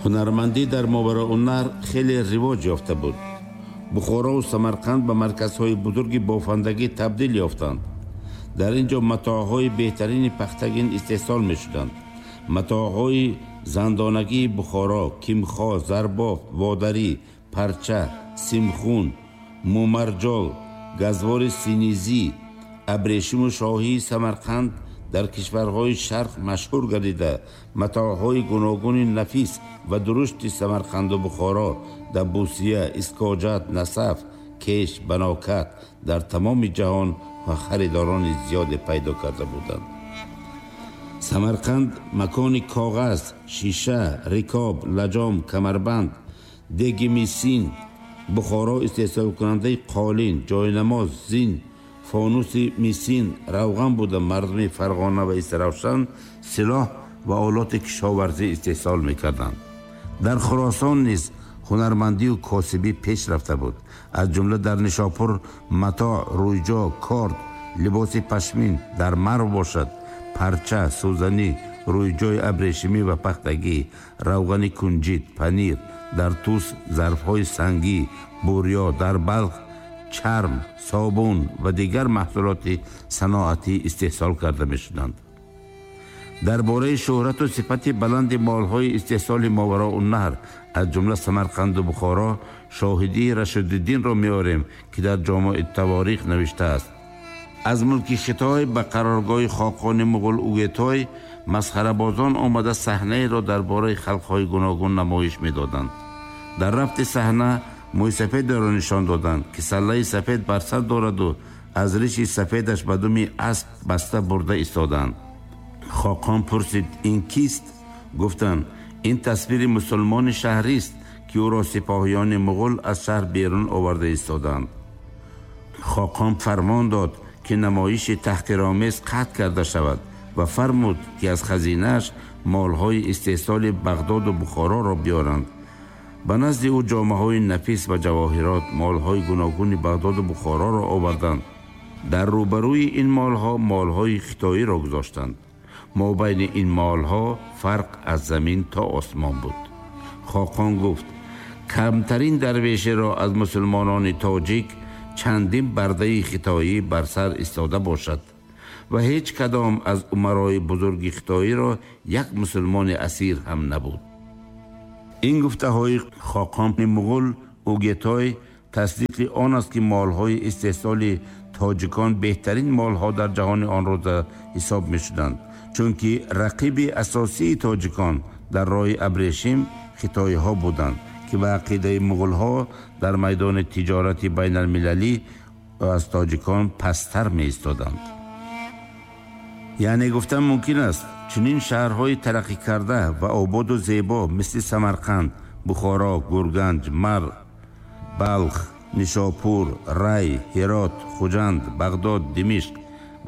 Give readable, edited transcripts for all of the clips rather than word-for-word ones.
Ҳунармандӣ дар Мовароуннаҳр хеле ривоҷ ёфта буд. Бухорову Самарқанд ба марказҳои бузурги бофандагӣ табдил ёфтанд. Дар ин ҷо матоъҳои беҳтарини пахтагин истеҳсол мешуданд. Матоъҳои зандонагии Бухоро, кимхо, зарбофт, водарӣ, парча, симхун, мумарҷол, газвори синизӣ, абрешиму шоҳии Самарқанд дар кишварҳои Шарқ машҳур гардида, матоъҳои гуногуни нафис ва дурушти Самарқанду Бухоро, Дабусия, Искоҷат, Насаф, Кеш, Банокат дар тамоми ҷаҳон ва харидорони зиёде пайдо карда буданд. Самарқанд макони коғаз, шиша, рикоб, лаҷом, камарбанд, деги мисин, Бухоро истеҳсолкунандаи қолин, ҷойнамоз, зин, фонуси мисин, равған буда, мардуми Фарғона ва Истаравшан силоҳ ва олоти кишоварзӣ истеҳсол мекарданд. Дар Хуросон низ ҳунармандию косибӣ пеш рафта буд. Аз ҷумла дар Нишопур матоъ, рӯйҷо, корд, либоси пашмин, дар Марв бошад парча, сӯзанӣ, рӯйҷои абрешимӣ ва пахтагӣ, равғани кунҷит, панир, дар Тус зарфҳои сангӣ, бурё, дар Балх чарм, собун ва дигар маҳсулоти саноатӣ истеҳсол карда мешуданд. Дар бораи шӯҳрату сифати баланди молҳои истеҳсоли Мовароуннаҳр, аз ҷумла Самарқанду Бухоро, шоҳидии Рашидуддинро меорем, ки дар Ҷомеи Таворих навиштааст: аз мулки Хитой ба қароргоҳи хоқони муғул Угетой масхарабозон омада саҳнаеро дар бораи халқҳои гуногун намоиш медоданд. Дар рафти саҳна мӯйсафедеро нишон доданд, ки саллаи сафед бар сар дораду аз риши сафедаш ба думи асп баста бурда истоданд. Хоқон пурсид: ин кист? Гуфтанд: ин тасвири мусулмони шаҳрист, ки ӯро сипоҳиёни муғул аз шаҳр берун оварда истоданд. Хоқон фармон дод, ки намоиши таҳқиромез қатъ карда шавад ва фармуд, ки аз хазинааш молҳои истеҳсоли Бағдоду Бухороро биёранд. Ба назди ӯ ҷомаҳои нафис ва ҷавоҳирот, молҳои гуногуни Бағдоду Бухороро оварданд. Дар рӯбарӯи ин молҳо молҳои хитоиро гузоштанд. Мобайни ин молҳо фарқ аз замин то осмон буд. Хоқон гуфт: камтарин дарвешеро аз мусулмонони тоҷик чандин бардаи хитоӣ бар сар истода бошад ва ҳеҷ кадом аз умарои бузурги хитоиро як мусулмони асир ҳам набуд. Ин гуфтаҳои хоқони муғул Угетой тасдиқи он аст, ки молҳои истеҳсоли тоҷикон беҳтарин молҳо дар ҷаҳони он рӯза ҳисоб мешуданд, чунки рақиби асосии тоҷикон дар роҳи абрешим хитоиҳо буданд, ки ба ақидаи муғулҳо дар майдони тиҷорати байналмилалӣ аз тоҷикон пасттар меистоданд. Яъне гуфтан мумкин аст, чунин шаҳрҳои тараққӣ карда ва ободу зебо мисли Самарқанд, Бухоро, Гурганҷ, Марв, Балх, Нишопур, Рай, Ҳирот, Хуҷанд, Бағдод, Димишқ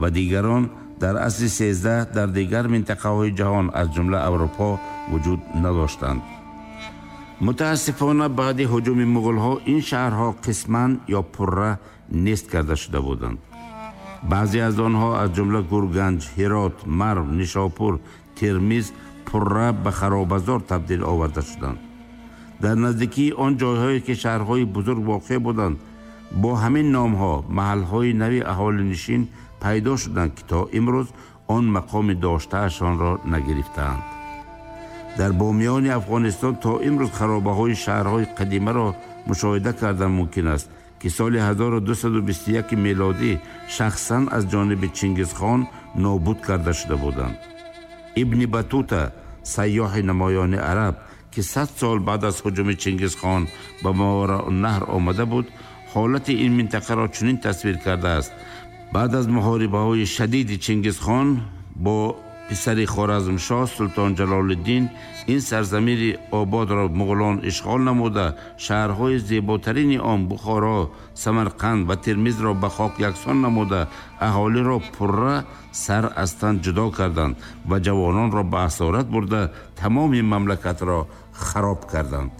ва дигарон дар асри 13 дар дигар минтақаҳои ҷаҳон, аз ҷумла Аврупо, вуҷуд надоштанд. Мутаассифона, баъди ҳуҷуми муғулҳо ин шаҳрҳо қисман ё пурра нест карда шуда буданд. Баъзе аз онҳо, аз ҷумла Гурганҷ, Ҳирот, Марв, Нишопур, Термиз, пурра ба харобазор табдил оварда шуданд. Дар наздикии он ҷойҳое ки шаҳрҳои бузург воқеъ буданд, бо ҳамин номҳо маҳалҳои нави аҳолинишин пайдо шуданд, ки то имрӯз он мақоми доштаашонро нагирифтаанд. Дар бомиёни Афғонистон то имрӯз харобаҳои шаҳрҳои қадимаро мушоҳида кардан мумкин аст, ки соли 1221 мелодӣ шахсан аз ҷониби Чингизхон нобуд карда шуда буданд. Ибни Батута, сайёҳи намоёни араб, ки 100 сол баъд аз ҳуҷуми Чингизхон ба Мовароуннаҳр омада буд, ҳолати ин минтақаро чунин тасвир кардааст: баъд аз муҳорибаҳои шадиди Чингизхон бо писари Хоразмшоҳ Султон Ҷалолиддин, ин сарзамини ободро муғулон ишғол намуда, шаҳрҳои зеботарини он Бухоро, Самарқанд ва Термизро ба хок яксон намуда, аҳолиро пурра сар аз тан ҷудо карданд ва ҷавононро ба асорат бурда, тамоми мамлакатро хароб карданд.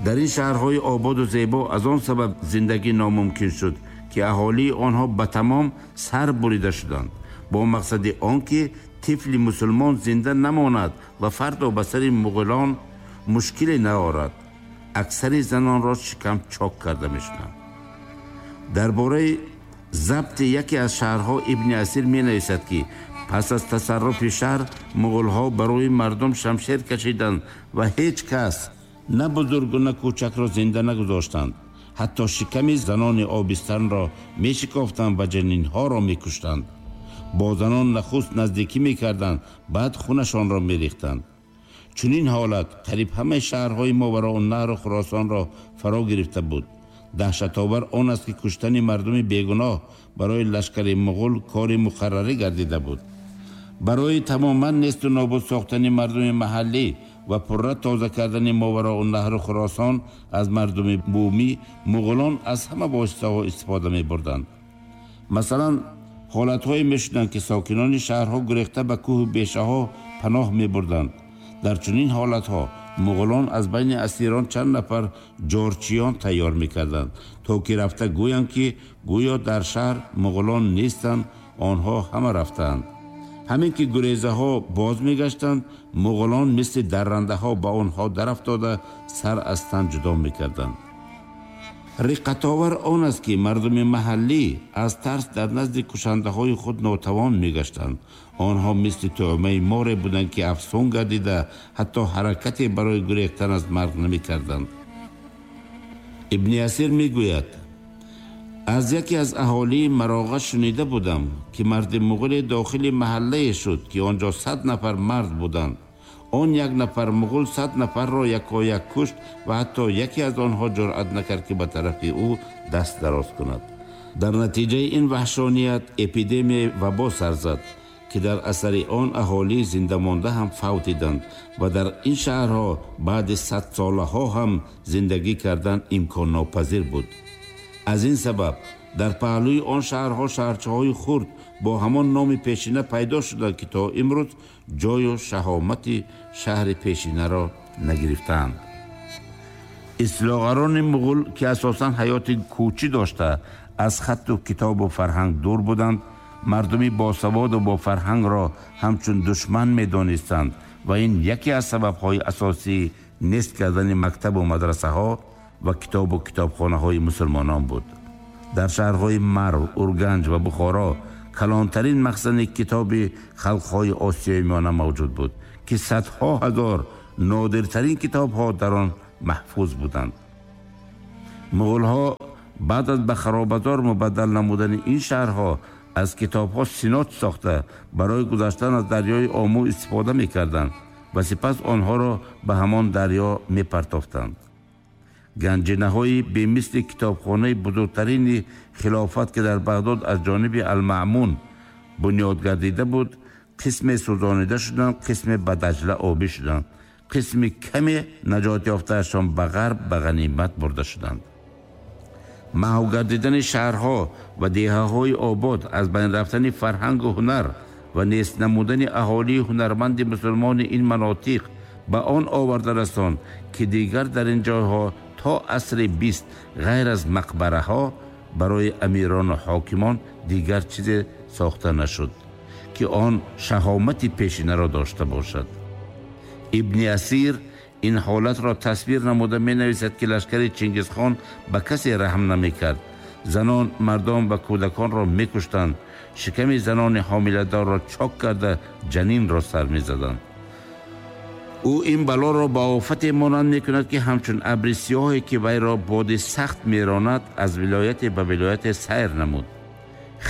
Дар ин шаҳрҳои ободу зебо аз он сабаб зиндагӣ номумкин шуд, ки аҳолии онҳо ба тамом сар бурида шуданд, бо мақсади он ки тифли мусулмон зинда намонад ва фардо ба сари муғулон мушкиле наорад. Аксари занонро шикам чок карда мешуданд. Дар бораи забти яке аз шаҳрҳо Ибни Асир менависад, ки пас аз тасарруфи шаҳр муғулҳо барои мардум шамшер кашиданд ва ҳеҷ кас на бузургу на кӯчакро зинда нагузоштанд. Ҳатто шиками занони обистанро мешикофтанд ва ҷанинҳоро мекуштанд. Бо занон нахуст наздикӣ мекарданд, баъд хунашонро мерехтанд. Чунин ҳолат қариб ҳамаи шаҳрҳои Мовароуннаҳру Хуросонро фаро гирифта буд. Даҳшатовар он аст, ки куштани мардуми бегуноҳ барои лашкари муғул кори муқаррарӣ гардида буд. Барои тамоман несту нобуд сохтани мардуми маҳаллӣ ва пурра тоза кардани Мовароуннаҳру Хуросон аз мардуми бумӣ, муғулон аз ҳама воситаҳо истифода мебурданд. Масалан, ҳолатҳое мешуданд, ки сокинони шаҳрҳо гурехта ба кӯҳу бешаҳо паноҳ мебурданд. Дар чунин ҳолатҳо муғулон аз байни асирон чанд нафар ҷорчиён тайёр мекарданд, то ки рафта гӯянд, ки гӯё дар шаҳр муғулон нестанд, онҳо ҳама рафтаанд. Ҳамин ки гурезаҳо боз мегаштанд, муғулон мисли даррандаҳо ба онҳо дарафтода, сар аз тан ҷудо мекарданд. Риққатовар он аст, ки мардуми маҳаллӣ аз тарс дар назди кушандаҳои худ нотавон мегаштанд. Онҳо мисли тӯъмаи море буданд, ки афсун гардида, ҳатто ҳаракате барои гурехтан аз марг намекарданд. Ибни Асир мегӯяд: аз яке аз аҳолии Мароға шунида будам, ки марди муғуле дохили маҳаллае шуд, ки он ҷо 100 нафар мард буданд. Он як нафар муғул 100 нафарро якояк кушт ва ҳатто яке аз онҳо ҷуръат накард, ки ба тарафи ӯ даст дароз кунад. Дар натиҷаи ин ваҳшоният эпидемияи вабо сар зад, ки дар асари он аҳолии зиндамонда ҳам фавтиданд ва дар ин шаҳрҳо баъди садсолаҳо ҳам зиндагӣ кардан имконнопазир буд. Аз ин сабаб дар паҳлӯи он шаҳрҳо шаҳрчаҳои хурд бо ҳамон номи пешина пайдо шуданд, ки то имрӯз ҷою шаҳомати шаҳри пешинаро нагирифтаанд. Истилогарони муғул, ки асосан ҳаёти кӯчӣ дошта, аз хатту китобу фарҳанг дур буданд, мардуми босаводу бофарҳангро ҳамчун душман медонистанд ва ин яке аз сабабҳои асосии нест кардани мактабу мадрасаҳо ва китобу китобхонаҳои мусулмонон буд. Дар шаҳрҳои Марв, Урганҷ ва Бухоро калонтарин махзани китоби халқҳои Осиёи Миёна мавҷуд буд, ки садҳо ҳазор нодиртарин китобҳо дар он маҳфуз буданд. Муғулҳо баъд аз ба харобазор мубаддал намудани ин шаҳрҳо аз китобҳо синот сохта, барои гузаштан аз дарёи Омӯ истифода мекарданд ва сипас онҳоро ба ҳамон дарё мепартофтанд. Ганҷинаҳои бемисли китобхонаи бузургтарини хилофат, ки дар Бағдод аз ҷониби Алмаъмун бунёд гардида буд, қисме сӯзонида шуданд, қисме ба Даҷла обӣ шуданд, қисми каме наҷот ёфтаашон ба ғарб ба ғанимат бурда шуданд. Маҳв гардидани шаҳрҳо ва деҳаҳои обод, аз байн рафтани фарҳангу ҳунар ва нест намудани аҳолии ҳунарманди мусулмони ин манотиқ ба он оварда расонд, ки дигар дар ин ҷойҳо то асри 20 ғайр аз мақбараҳо барои амирону ҳокимон дигар чизе сохта нашуд, ки он шаҳомати пешинаро дошта бошад. Ибни Асир ин ҳолатро тасвир намуда менависад, ки лашкари Чингизхон ба касе раҳм намекард. Занон, мардон ва кӯдаконро мекуштанд, шиками занони ҳомиладорро чок карда, ҷанинро сар мезаданд. Ӯ ин балоро ба офате монанд мекунад, ки ҳамчун абри сиёҳе, ки вайро боди сахт меронад, аз вилояте ба вилояте сайр намуд.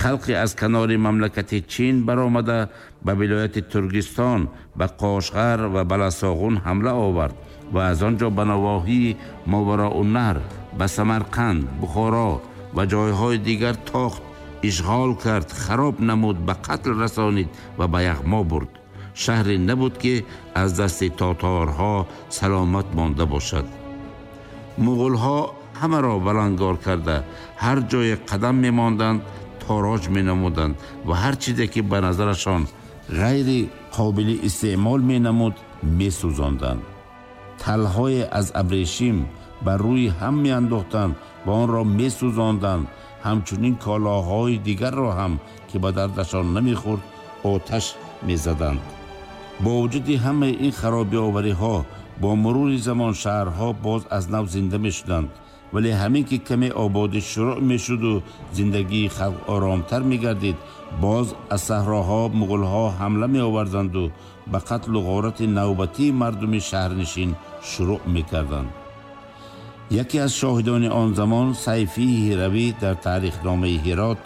Халқе аз канори мамлакати Чин баромада, ба вилояти Туркистон, ба Қошғар ва Баласоғун ҳамла овард ва аз он ҷо ба навоҳии Мовароуннаҳр, ба Самарқанд, Бухоро ва ҷойҳои дигар тохт, ишғол кард, хароб намуд, ба қатл расонид ва ба яғмо бурд. Шаҳре набуд, ки аз дасти тоторҳо саломат монда бошад. Муғулҳо ҳамаро балангор карда, ҳар ҷое қадам мемонданд, тороҷ менамуданд ва ҳар чизе ки ба назарашон ғайри қобили истеъмол менамуд, месӯзонданд. Талҳое аз абрешим бар рӯи ҳам меандохтанд ва онро месӯзонданд. Ҳамчунин колоҳои дигарро ҳам, ки ба дардашон намехӯрд, оташ мезаданд. Бо вуҷуди ҳамаи ин харобиовариҳо Бо мурури замон шаҳрҳо боз аз нав зинда мешуданд, вале ҳамин ки каме ободӣ шурӯъ мешуду зиндагии халқ оромтар мегардид, боз аз саҳроҳо муғулҳо ҳамла меоварданду ба қатлу ғорати навбатии мардуми шаҳрнишин шурӯъ мекарданд. Яке аз шоҳидони он замон, Сайфии Ҳиравӣ, дар таърихномаи Ҳирот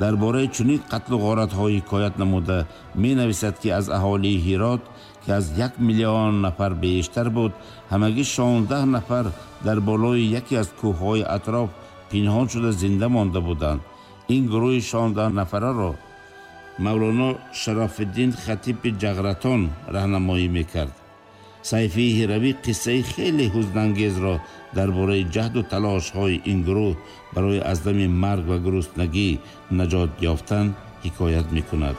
дар бораи чунин қатлу ғоратҳо ҳикоят намуда менависад, ки аз аҳолии Ҳирот, ки аз 1 миллион нафар бештар буд, ҳамагӣ 16 нафар дар болои яке аз кӯҳҳои атроф пинҳон шуда зинда монда буданд. Ин гурӯҳи 16 нафараро Мавлоно Шарафиддин Хатиби Ҷағратон раҳнамоӣ мекард. Сайфии Ҳиравӣ қиссаи хеле ҳузнангезро дар бораи ҷаҳду талошҳои ин гурӯҳ барои аз дами марг ва гуруснагӣ наҷот ёфтан ҳикоят мекунад.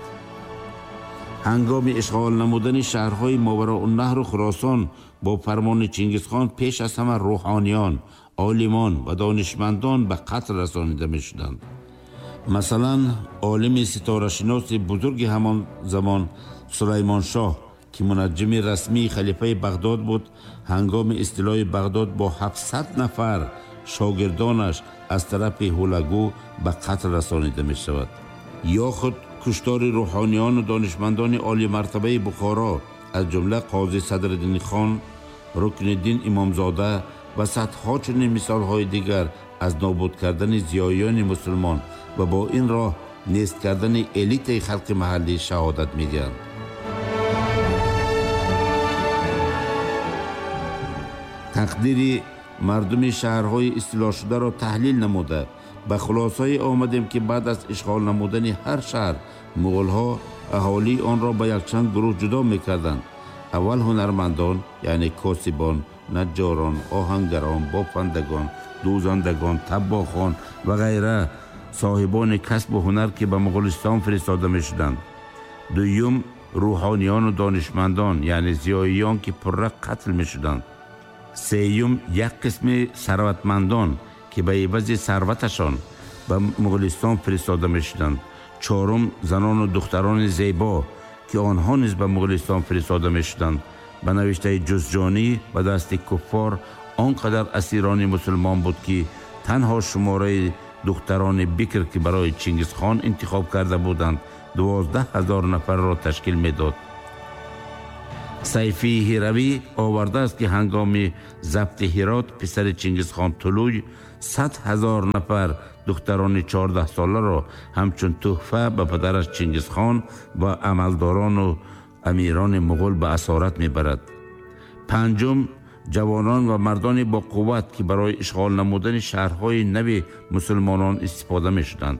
Ҳангоми ишғол намудани шаҳрҳои Мовароуннаҳру Хуросон бо фармони Чингизхон пеш аз ҳама рӯҳониён, олимон ва донишмандон ба қатл расонида мешуданд. Масалан, олими ситорашиноси бузурги ҳамон замон Сулаймоншоҳ, ки мунаҷҷими расмии халифаи Бағдод буд, ҳангоми истилои Бағдод бо 700 нафар шогирдонаш аз тарафи Ҳулагӯ ба қатл расонида мешавад. Ё худ куштори рӯҳониёну донишмандони олимартабаи Бухоро, аз ҷумла Қози Садриддин хон, Рукниддин Имомзода ва садҳо чунин мисолҳои дигар аз нобуд кардани зиёиёни мусулмон ва бо ин роҳ нест кардани элитаи халқи маҳаллӣ шаҳодат медиҳанд. Тақдири мардуми шаҳрҳои истилошударо таҳлил намуда ба хулосае омадем, ки баъд аз ишғол намудани ҳар шаҳр муғулҳо аҳолии онро ба якчанд гурӯҳ ҷудо мекарданд. Аввал ҳунармандон, яъне косибон, наҷҷорон, оҳангарон, бофандагон, дӯзандагон, таббохон ва ғайра, соҳибони касбу ҳунар, ки ба Муғулистон фиристода мешуданд. Дуюм, рӯҳониёну донишмандон, яъне зиёиён, ки пурра қатл мешуданд. Сеюм, як қисми сарватмандон, ки ба ивази сарваташон ба Муғулистон фиристода мешуданд. Чорум, занону духтарони зебо, ки онҳо низ ба Муғулистон фиристода мешуданд. Ба навиштаи Ҷузҷонӣ, ба дасти куффор он қадар асирони мусулмон буд, ки танҳо шумораи духтарони бикр, ки барои Чингизхон интихоб карда буданд, 12 000 нафарро ташкил медод. Сайфии Ҳиравӣ овардааст, ки ҳангоми забти Ҳирот писари Чингизхон Тулуй 100 000 нафар духтарони 14-соларо ҳамчун тӯҳфа ба падараш Чингизхон ва амалдорону амирони муғул ба асорат мебарад. Панҷум, ҷавонон ва мардони бо қувват, ки барои ишғол намудани шаҳрҳои нави мусулмонон истифода мешуданд.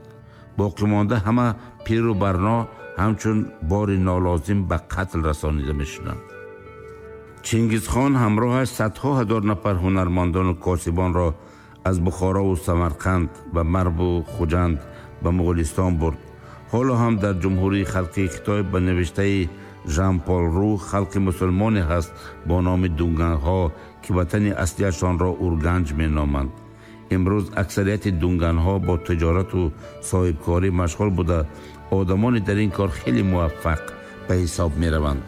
Боқимонда ҳама пиру барно ҳамчун бори нолозим ба қатл расонида мешуданд. Чингизхон ҳамроҳаш садҳо ҳазор нафар ҳунармандону косибонро аз Бухорову Самарқанд ба Марву Хуҷанд ба Муғулистон бурд. Ҳоло ҳам дар Ҷумҳурии Халқии Хитой ба навиштаи Жан-Пол Ру халқи мусулмоне ҳаст бо номи дунганҳо, ки ватани аслиашонро Урганҷ меноманд. Имрӯз аксарияти дунганҳо бо тиҷорату соҳибкорӣ машғул буда, одамони дар ин кор хеле муваффақ ба ҳисоб мераванд.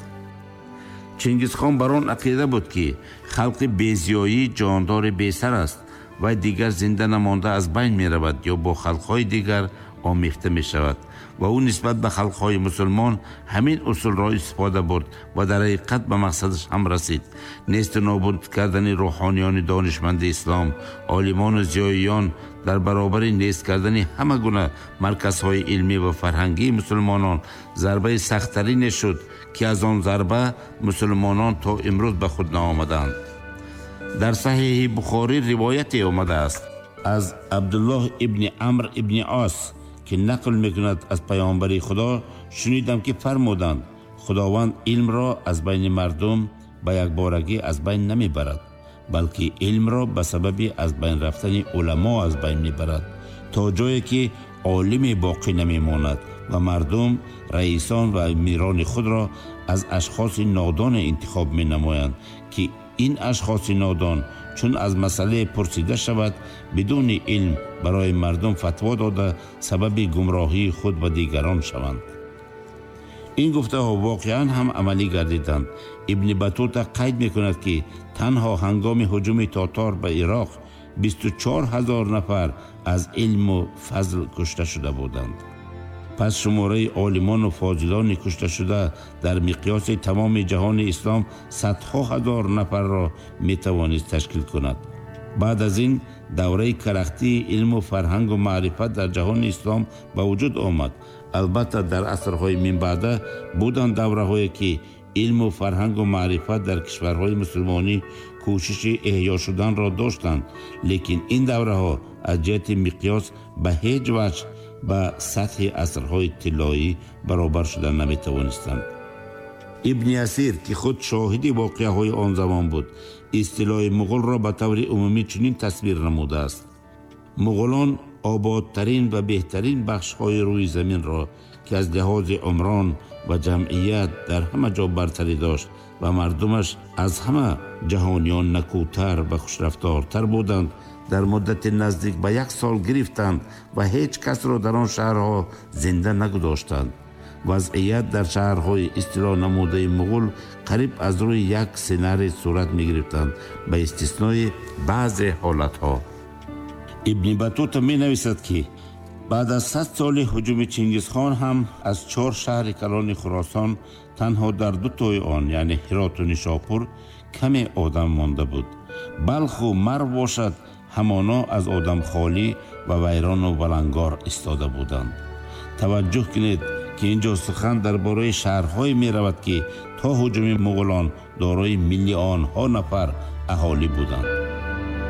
Чингизхон бар он ақида буд, ки халқи безиёӣ ҷондори бесар аст ва дигар зинда намонда аз байн меравад ё бо халқҳои дигар омехта мешавад ва ӯ нисбат ба халқҳои мусулмон ҳамин усулро истифода бурд ва дар ҳақиқат ба мақсадаш ҳам расид. Несту нобуд кардани рӯҳониёни донишманди ислом, олимону зиёиён дар баробари нест кардани ҳама гуна марказҳои илмӣ ва фарҳангии мусулмонон зарбаи сахттарине шуд, ки аз он зарба мусулмонон то имрӯз ба худ наомаданд. Дар Саҳиҳи Бухорӣ ривояте омадааст аз Абдуллоҳ ибни Амр ибни Ос, ки нақл мекунад: аз паёмбари Худо шунидам, ки фармуданд: Худованд илмро аз байни мардум ба якборагӣ аз байн намебарад, балки илмро ба сабаби аз байн рафтани уламо аз байн мебарад, то ҷое ки олиме боқӣ намемонад ва мардум раисон ва амирони худро аз ашхоси нодоне интихоб менамоянд, ки ин ашхоси нодон чун аз масъалае пурсида шавад, бидуни илм барои мардум фатво дода сабаби гумроҳии худ ва дигарон шаванд. Ин гуфтаҳо воқеан ҳам амалӣ гардиданд. Ибни Батута қайд мекунад, ки танҳо ҳангоми ҳуҷуми тотор ба Ироқ 24 ҳазор нафар аз илму фазл кушта шуда буданд. Пас шумораи олимону фозилони кушташуда дар миқёси тамоми ҷаҳони ислом садҳо ҳазор нафарро метавонист ташкил кунад. Баъд аз ин давраи карахтии илму фарҳангу маърифат дар ҷаҳони ислом ба вуҷуд омад. Албатта, дар асрҳои минбаъда буданд давраҳое, ки илму фарҳангу маърифат дар кишварҳои мусулмонӣ кӯшиши эҳё шуданро доштанд, лекин ин давраҳо аз ҷиҳати миқёс ба ҳеҷ ваҷҳ ба сатҳи асрҳои тиллоӣ баробар шуда наметавонистанд. Ибни Асир, ки худ шоҳиди воқеаҳои он замон буд, истилои муғулро ба таври умумӣ чунин тасвир намудааст: муғулон ободтарин ва беҳтарин бахшҳои рӯи заминро, ки аз лиҳози умрон ва ҷамъият дар ҳама ҷо бартарӣ дошт ва мардумаш аз ҳама ҷаҳониён накӯтар ва хушрафтортар буданд, дар муддати наздик ба як сол гирифтанд ва ҳеҷ касро дар он шаҳрҳо зинда нагузоштанд. Вазъият дар шаҳрҳои истило намудаи муғул қариб аз рӯи як сценарий сурат мегирифтанд, ба истиснои баъзе ҳолатҳо. Ибни Батута менависад, ки баъд аз 100 соли ҳуҷуми Чингизхон ҳам аз чор шаҳри калони Хуросон танҳо дар ду тои он, яъне Ҳироту Нишопур, каме одам монда буд. Балху Марв бошад, ҳамоно аз одам холӣ ва вайрону валангор истода буданд. Таваҷҷӯҳ кунед, ки ин ҷо сухан дар бораи шаҳрҳое меравад, ки то ҳуҷуми муғулон дорои миллионҳо нафар аҳолӣ буданд.